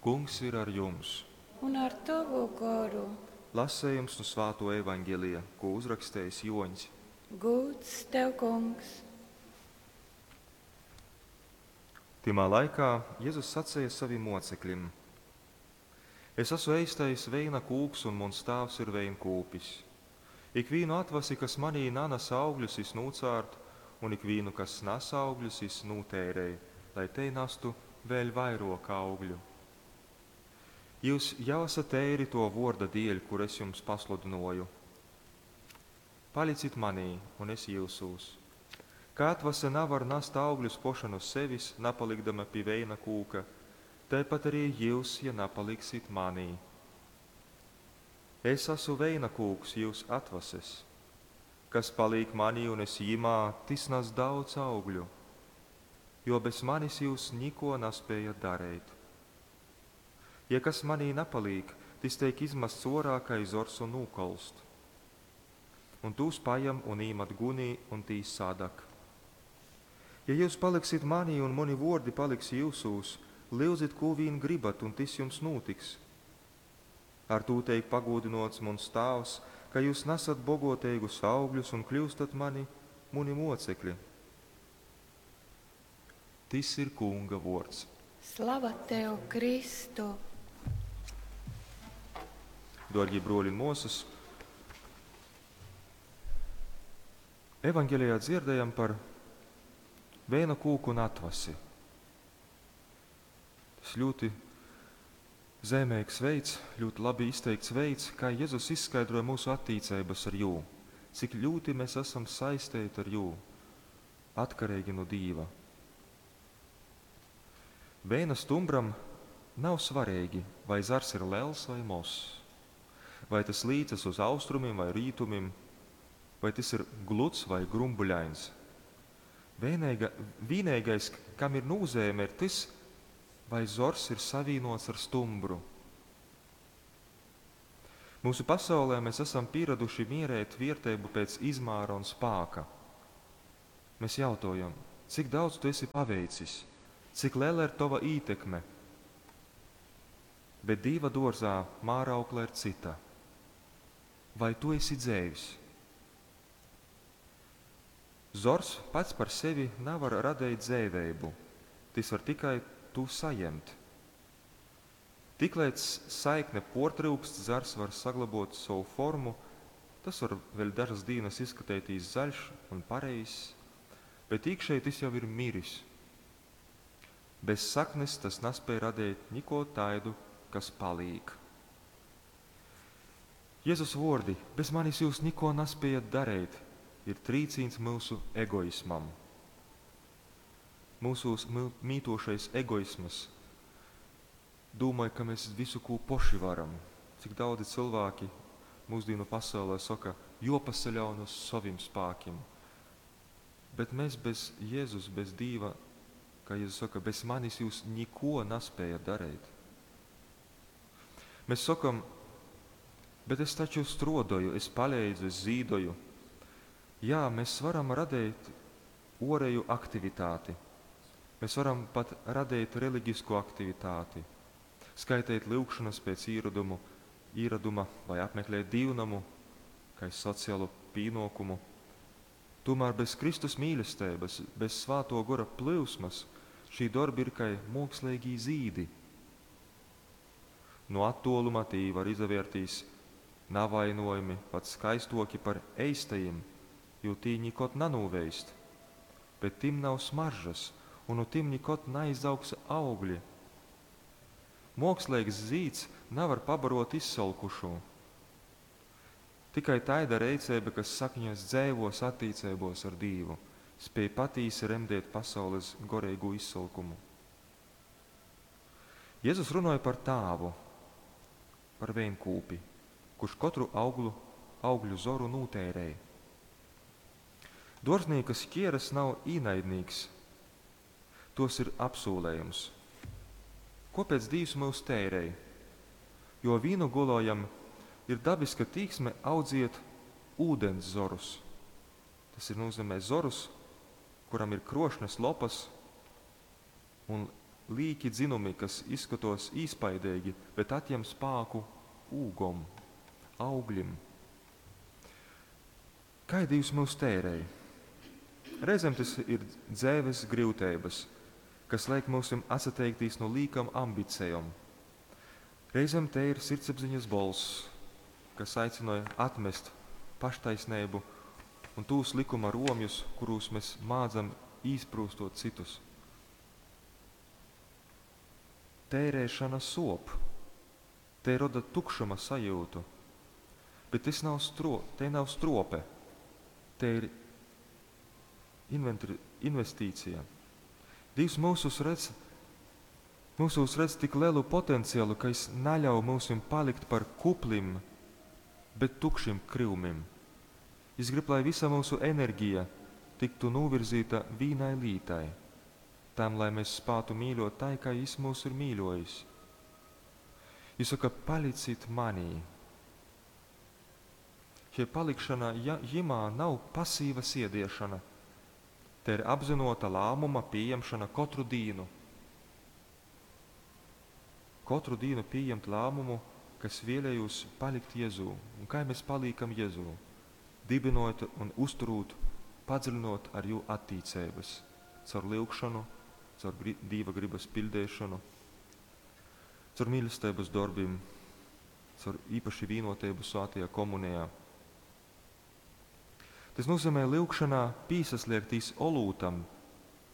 Kungs ir ar jums! Un ar tovu goru. Lasējums nu Svāto evaņģelija, ko uzrakstējis Joņs. Gūds tev, Kungs! Tymā laikā Jezus sacēja savim mocekļim: Es esmu eistais veina kūks, un muns tāvs ir veinkūpis. Ikvīnu atvasi, kas manī nanes augļus, jis nūcārt, un ikvīnu, kas nes augļus, jis nūtērej, lai te nastu vēl vairāk augļu. Jūs jau esat teiri to vorda dieļ, kur es jums pasludinoju. Palicit manī, un es jūsūs. Kā atvase navar nast augļus poša no sevis, napalikdama pie veina kūka, tāpat arī jūs, ja napaliksit manī. Es esmu veina kūks, jūs atvases. Kas paliek manī un es jimā, tis nes daudz augļu, jo bez manis jūs niko nespējat darīt. Ja kas manī napaliek, tis teik izmests orā, kā zors un nūkolst. Un tūs pajam un īmat gunī, un tī sadak. Ja jūs paliksit manī un mani vordi paliks jūsūs, lyudzit, ko vīn gribat, un tis jums notiks. Ar tū teik pagūdinots muns tāvs, ka jūs nesat bogoteigus augļus un kļūstat mani, muni mocekļi. Tis ir Kunga vords. Slava tev, Kristu! Dārgie broļi un mosas, Evanģelijā dzirdējam par vēna kūku un atvasi. Tas ļoti zīmīgs veids, ļoti labi izteikts veids, kā Jēzus izskaidroja mūsu attiecības ar jū. Cik ļoti mēs esam saistīti ar jū, atkarīgi no Dīva. Vēna stumbram nav svarīgi, vai zars ir liels vai mozs, vai tas līcas uz austrumiem vai rītumiem, vai tas ir gluds vai grumbuļains. Vienīga, vienīgais, kam ir nozīme, ir tas, vai zors ir savīnots ar stumbru. Mūsu pasaulē mēs esam pieraduši mierēt vērtību pēc izmēra un spāka. Mēs jautājam, cik daudz tu esi paveicis, cik liela ir tava ietekme. Bet Dieva dārzā māraukla ir cita. Vai tu esi dzēvis? Zors pats par sevi nevar radīt dzēvēbu, tas var tikai tu saņemt. Tiklīdz saikne portryukst, zars var saglabot savu formu, tas var vēl dažas dienas izskatīties zaļš un pareizs, bet iekšēji tas jau ir miris. Bez saknes tas nespēja radīt neko taidu, kas palīk. Jēzus vordi, bez manis jūs neko nespējat darīt, ir trīcīns mūsu egoismam. Mūsos mītošais egoisms domāja, ka mēs visu ko poši varam. Cik daudzi cilvēki mūsdienu pasaulē saka, jopasaļaun uz saviem spēkiem. Bet mēs bez Jēzus, bez Dīva, kā Jēzus saka, bez manis jūs neko nespējat darīt. Mēs sakam, bet es taču strodoju, es palīdzu, es zīdoju. Jā, mēs varam radīt orēju aktivitāti. Mēs varam pat radīt reliģisku aktivitāti, skaitīt lūgšanas pēc īradumu, īraduma vai apmeklēt dīvnamu, kā sociālu pienākumu. Tomēr bez Kristus mīlestības, bez svāto gora plūsmas, šī darbi ir kā mākslīgi zīdi. No attāluma tī var izvērtīs navainojami, pat skaistoki par eistajiem, jo tī nikot nanūveist, bet tim nav smaržas, un no tim nikot neizaugs augļi. Mākslīgs zīds nevar pabarot izsalkušo. Tikai taida reicēba, kas sakņos dzēvos attīcībos ar Dīvu, spēj patīsi remdēt pasaules gorīgu izsalkumu. Jēzus runāja par tāvu, par vēnkūpi, kurš katru auglu, augļu zoru nūtērēja. Dārznieka šķieras nav īnaidnīgs, tos ir apsūlējums. Kāpēc Dievs mūs tērēja? Jo vīnu gulojam ir dabiska tīksme audziet ūdens zorus. Tas ir nozīmē zorus, kuram ir krošnas lopas un līki dzinumi, kas izskatos īspaideigi, bet atjem spāku ūgom, augļim. Kai Dīvs myus tērej? Reizēm tas ir dzeives gryuteibas, kas liek myusim atsateikties no līkam ambicejom. Reizēm te ir sirdsapziņas bolss, kas aicināja atmest paštaisnību un tūs likuma romjus, kurus mēs mādzam īsprūstot citus. Tērēšana sop, te roda tukšuma sajūtu, bet tas nav te nav strope, te ir investīcija. Dievs mūsus redz, mūsos redz tik lielu potenciālu, ka viņš neļauj mūsim palikt par kuplim, bet tukšim kryumim. Viņš grib, lai visa mūsu enerģija tiktu novirzīta vienai lītai, tam, lai mēs spātu mīļot tai, kā viņš mūs ir mīļojis. Viņš saka, palicit manī. Šie palikšana jimā nav pasīva siediešana. Te ir apzinota lēmuma pieņemšana katru dienu. Katru dienu pieņemt lēmumu, kas vēlējos palikt Jēzū. Un kā mēs paliekam Jēzū? Dibinot un uzturot, padziļinot ar jū attīcības, caur lūgšanu, caur Dieva gribas pildīšanu, caur mīlestības darbiem, caur īpaši vienotību svētajā komunijā. Tas nozīmē lūgšanā pīsasliektīs olūtam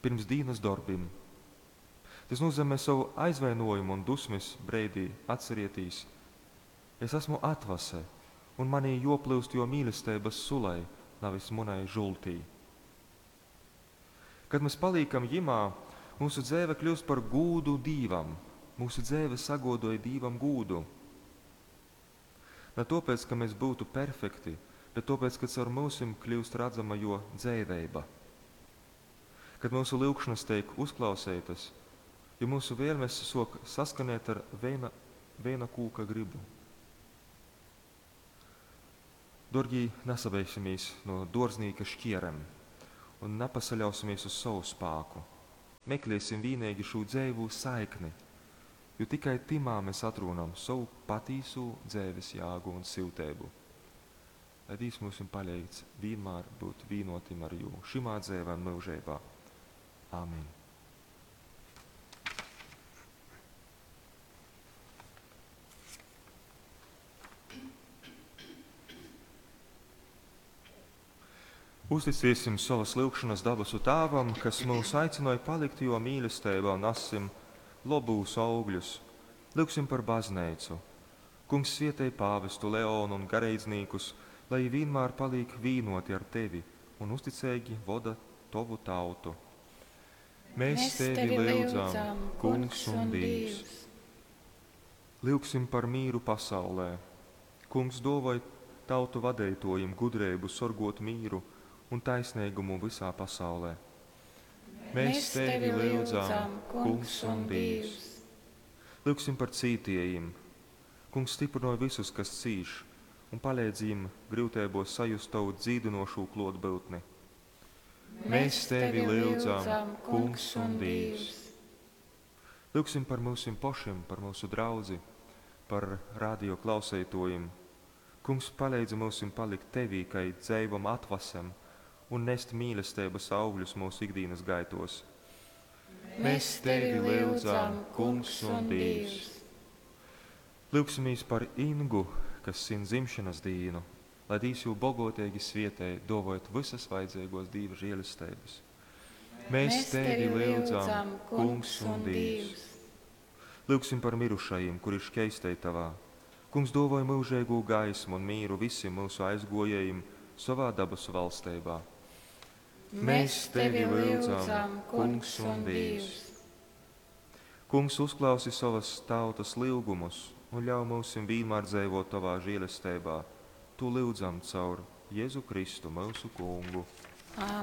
pirms dienas darbiem. Tas nozīmē savu aizvainojumu un dusmas breidī atcerietīs. Es esmu atvase, un manī joplūst jo mīlestības sulai, nevis munai žultī. Kad mēs paliekam jimā, mūsu dzēve kļūst par gūdu Dīvam. Mūsu dzēve sagodoja Dīvam gūdu. Ne tāpēc, ka mēs būtu perfekti, bet tāpēc, ka caur mūsim kļūst redzama jo dzēveiba. Kad mūsu lūgšanas tiek uzklausītas, jo mūsu vēlmes sok saskanēt ar viena kūka gribu. Dorgī, nesabeigsimies no dārznīka šķierem un nepasaļausimies uz savu spāku. Meklēsim vienīgi šo dzēvu saikni, jo tikai timā mēs atrunam savu patīsu dzēves jāgu un siltēbu. Lai Dievs mums palīdz vienmēr būt vienotim ar jū šimā dzēvē un mūžībā. Āmen. Uzticēsim savas lūgšanas dabasu Tēvam, kas mūs aicināja palikt jo mīlestībā un nesim lobūs augļus. Lūgsim par baznīcu. Kungs svietēj pāvestu Leonu un garīdzniekus, lai vienmēr paliek vienoti ar tevi un uzticīgi voda tavu tautu. Mēs tevi lūdzam, Kungs un Dievs. Lūgsim par mīru pasaulē. Kungs dovai tautu vadētojiem gudrību sorgot mīru un taisnīgumu visā pasaulē. Mēs tevi lūdzam, Kungs un Dievs. Lūgsim par cītiejiem. Kungs stiprinoja visus, kas cīš, un palīdz viņiem grūtībos sajust tavu dzīdinošo klotbūtni. Mēs tevi lūdzam, Kungs un Dievs. Lūgsim par mūsim pašiem, par mūsu draudzi, par radio klausētojiem. Kungs palīdz mūsim palikt tevī, kai dzeivam atvasam, un nest mīlestības augļus mūsu ikdienas gaitos. Mēs tevi lūdzam, Kungs un Dievs. Lūgsimies par Ingu, kas svin dzimšanas dienu, lai Dievs jū bogotīgi svietē, dovojot visas vajadzīgos Dieva žēlestības. Mēs tevi lūdzam, Kungs un Dievs. Lūgsim par mirušajiem, kuri šķeistei tavā. Kungs dovoja mūžīgo gaismu un mīru visiem mūsu aizgojējiem savā dabasu valstībā. Mēs tevi lūdzam, Kungs un Dievs. Kungs uzklausi savas tautas lūgumus un ļauj mums vienmēr dzīvot tavā žēlestībā. Tu lūdzam caur Jēzu Kristu, mūsu Kungu. Āmen.